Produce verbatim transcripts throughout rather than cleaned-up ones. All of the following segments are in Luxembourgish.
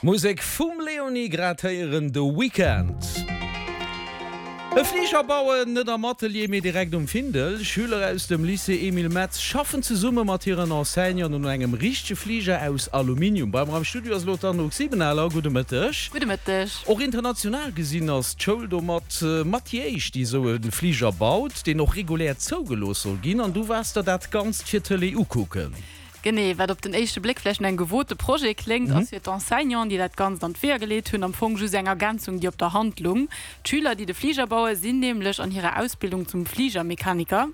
Musek vum Leonie grad héieren, The Weekend. E Fliger bauen, net am Atelier, mee direkt um Findel. Schüler aus dem Lycée Emile Metz schaffen zesumme mat hiren Enseignanten un engem richtege Fliger aus Aluminium. Bei mer am Studio ass elo d'Anouk Siebenaler. Gudde Mëtteg. Gudde Mëtteg. Och international gesinn ass d'Schoul domat mat déi éischt, déi esou e Fliger baut, deen och regulär zougelooss soll ginn. An du waars der dat Ganzt fir d'Tëlee ukucken. Genee, wat op den éischte Bléck vläicht no engem gewote Projet kléngt, ass fir d'Enseignanten, déi dat Ganzt an d'Weeër geleet hunn, am Fong just eng Ergänzung, déi op der Hand lung. D'Schüler, déi de Fliger bauen, sinn nämlech an hirer Ausbildung zum Fligermechaniker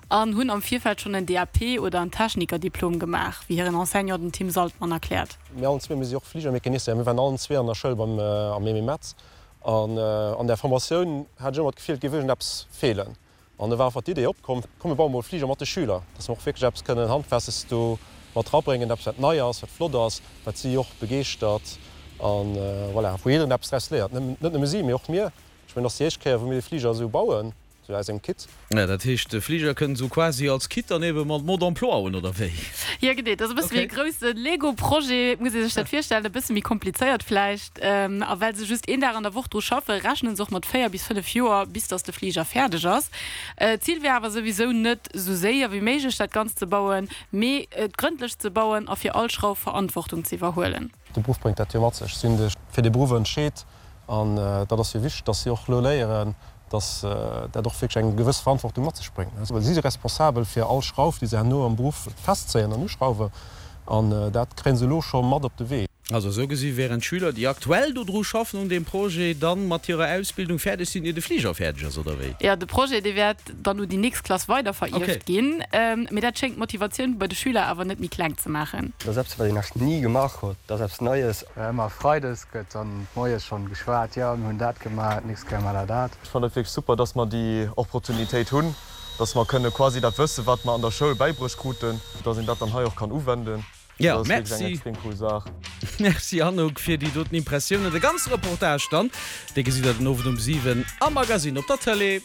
an hunn am Virfeld schonn en D A P oder en Technikerdiplom gemaach, wéi hiren Enseignant, den Tim Saltmann, erkläert. Mir allen zwee, mir si och Fligermecanicien, mir waren allen zwee an der Schoul beim am Emile Metz an an där Formatioun hat ech ëmmer d'Gefill, et géif iergendeppes feelen. An da war einfach d'Idee opkomm, komm mir baue mol e Fliger mat de Schüler, dass mer och wierklech eppes kënnen Handfestes do mat rabréngen, eppes wat nei ass, wat flott ass, wat si och begeeschtert an voilà, wou jiddereen eppes draus léiert, net nëmme si, mee och mir. Ech mengen, et ass déi éischt Kéier, wou mir de Fliger esou bauen, esou aus engem Kit. Ja, dat heescht, de Fliger kënnt esou quasi als Kit dann ebe mat Mode d'emploi un, oder wéi? Jo, genee. Dat ass e bësse wéi e grousse Lego-Projet, muss ee sech dat virstellen, e bësse méi komplizéiert vläicht. A well se just een Dag an der Woch dru schaffen, rechnen se och mat véier bis fënnef Joer, bis datt de Fliger fäerdeg ass. D'Zil wär awer souwisou net, esou séier wéi méiglech dat Ganzt ze bauen, mee et grëndlech ze bauen a fir all Schrauf Verantwortung ze iwwerhuelen. De Beruff bréngt dat jo mat sech. Si hunn sech fir dee Beruff entscheet an dat ass jo wichteg, datt si och elo léieren, datt dat och wierklech eng gewëss Verantwortung mat sech bréngt. Well si si responsabel fir all Schrauf, déi se herno am Beruff festzéien an uschrauwen an dat kréie se elo scho mat op de Wee. Also esou gesi wären d'Schüler, déi aktuell do dru schaffen un deem Projet, dann mat hirer Ausbildung fäerdeg sinn, ier de Fliger fäerdeg ass, oder wéi? Jo, de Projet, dee wäert dann un déi nächst Klass weiderverierft ginn. Mee dat schéngt d'Motivatioun bei de Schüler awer net méi kleng ze maachen. Dat ass eppes, wat een nach ni gemaach huet. Dat ass eppes Neies. Ëmmer freides gëtt dann moies schonn geschwat, jo mir hunn dat gemaach, d'nächst Kéier maache mer dat. Ech fannen et wierklech super, dass mer déi Opportunitéit hunn, dass mer kënne quasi dat Wësse wat mer an der Schoul bäibruecht kruten, dass een dat dann hei och kann uwenden. Ja, Dat ass wierklech eng merci. extrem cool Saach. Merci Anouk fir déi doten Impressiounen. De ganze Reportage dann, dee gesitt der den Owend um siwen am Magazine op der Tëlee.